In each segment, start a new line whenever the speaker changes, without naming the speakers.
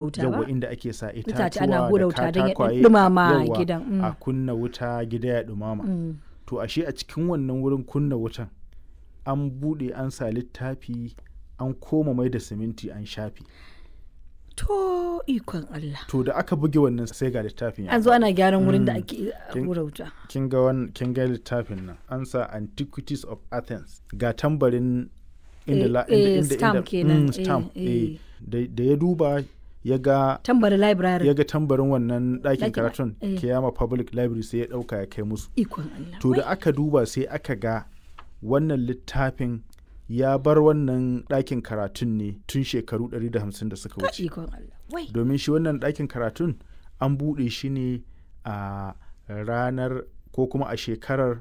Wuta
Yawwa,
ba?
inda ake sa
Itace ana
itatuwa
hura
da
wuta don ya
katakwaye,
ɗumama
yawwa,
gidan.
a kunna wuta gida ya ɗumama. To ashe a cikin wannan wurin kunna wutan an buɗe an sa littafi, an koma mai da siminti an shafe.
To, ikon Allah.
To da aka buge wannan sai ga littafin ya
An zo
faɗo.
ana gyaran wurin da ake
Kin-
hura wuta.
Kin ga wannan, kin ga littafin nan an sa Antiquities of Athens, ga tambarin inda
Eh,
la
eh,
inda inda
stamp
inda
kenan.
Stamp,
eh, eh.
eh. Da ya duba ya ga
Tambarin library.
ya ga tambarin wannan ɗakin
Ɗakin,
karatun,
eh.
Kiyama Public Library, sai ya ɗauka ya kai musu.
Ikon Allah.
To da aka duba sai aka ga wannan littafin ya bar wannan ɗakin karatun ne tun shekaru 150 da suka
Wai,
wuce.
ikon Allah. Wai.
Domin shi wannan ɗakin karatun an buɗe shi ne a ranar ko kuma a shekarar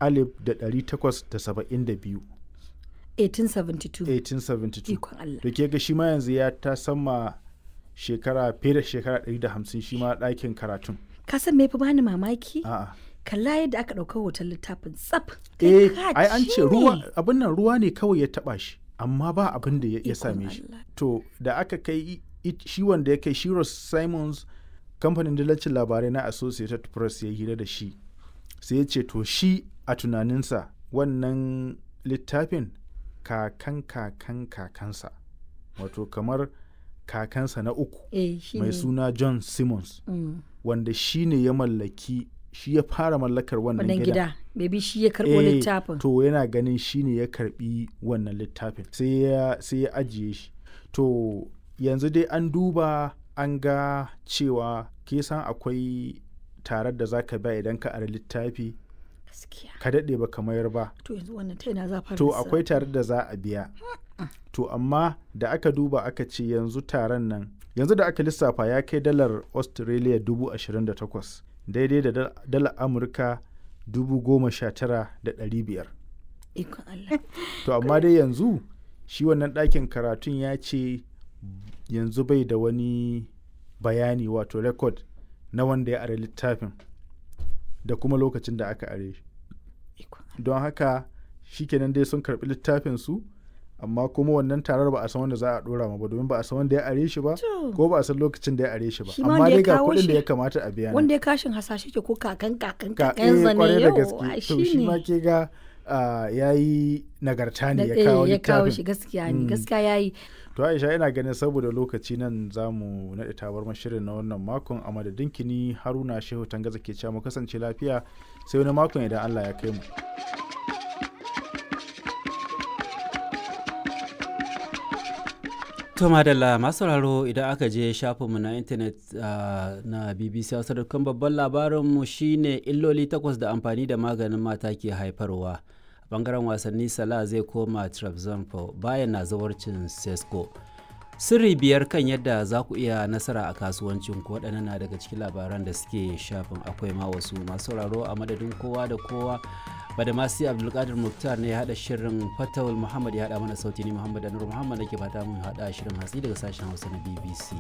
1872.
1872.
1872.
Ikon Allah.
Da ke ga shi ma yanzu ya ta sama shekara fiye da shekara 150 shi ma ɗakin karatun.
Ka san me fi bani mamaki?
A'a.
Kalla yadda aka ɗauka hoton littafin tsaf. Kai
Eh,
ka
ai an ce
ne.
ruwa, abin nan ruwa ne kawai ya taba shi, amma ba abin da ya
Ikon
same shi.
Allah.
To da aka kai shi wanda ya kai shi Ross Simons, kamfanin dillacin labarai na Associated Press ya hira da shi, sai ya ce to shi a tunaninsa wannan littafin kakan kakan kakansa, wato kamar kakansa na uku,
Eh, shi
mai
ne.
suna John Simmons, wanda shi ne ya mallaki, shi ya fara mallakar wannan
Wannan
gidan.
gida. Maybe shi ya karɓo
Eh,
littafin.
To yana ganin shi ne ya karbi wannan littafin, sai ya ajiye shi. To yanzu dai an duba an ga cewa ke san akwai tarar da za ka biya idan ka ari littafi
Gaskiya.
ka daɗe ba ka mayar ba.
To yanzu wannan ta ina za a fara
To
lissafi?
akwai tarar da za a biya. To amma da aka duba aka ce yanzu taron nan yanzu da aka lissafa ya kai dalar Australia 28,000, daidai da dalar Amurka 19,500.
Ikon Allah.
To amma dai yanzu shi wannan ɗakin karatun ya ce yanzu bai da wani bayani, wato record na wanda ya are littafin da kuma lokacin da aka are shi.
Ikon Allah.
Don haka shikenan dai sun karɓi littafin su, amma kuma wannan tarar ba a san wanda za a ɗora ma ba, domin ba a san wanda ya are shi ba
To.
ko ba a san lokacin da ya are shi ba.
Shi ma
Amma
wanda ya
dai ga
kawo
kuɗin da
shi-
ya kamata a biya nan.
Wanda ya kashin hasashe ke ko kakan kakan
Ka
kakansa
kwarai
ne
da
yau.
gaske.
Ai,
To shi ma
ne.
ke ga ya yi nagarta ne
Da-
ya kawo
eh, ya kawo
littafin.
shi, gaskiya ne, gaskiya yayi.
To Aisha, ina ganin saboda lokaci nan za mu naɗe tabarmar shirin na wannan makon. A madadin kini Haruna Shehu Tangaza ke cewa mu kasance lafiya sai wani makon idan Allah ya kai mu.
To madalla, masu sauraro, idan aka je shafinmu na intanet na BBC Hausa.com, babban labarinmu shine illoli 8 da amfani da maganin mata ke haifarwa. A bangaren wasanni, Salah zai koma Trabzonspor bayan na zawarcin Sesko. Sirri 5 kan yadda za ku iya nasara a kasuwancin ku, waɗannan na daga cikin labaran da suke shafin, akwai ma wasu. Masu sauraro, a madadin kowa da kowa, Badamasi Abdulkadir Muktar ne ya haɗa shirin, Fatawul Muhammad ya haɗa mana sauti, ni Muhammad Anur Muhammad nake fata mun haɗa shirin hatsi daga sashen Hausa na BBC.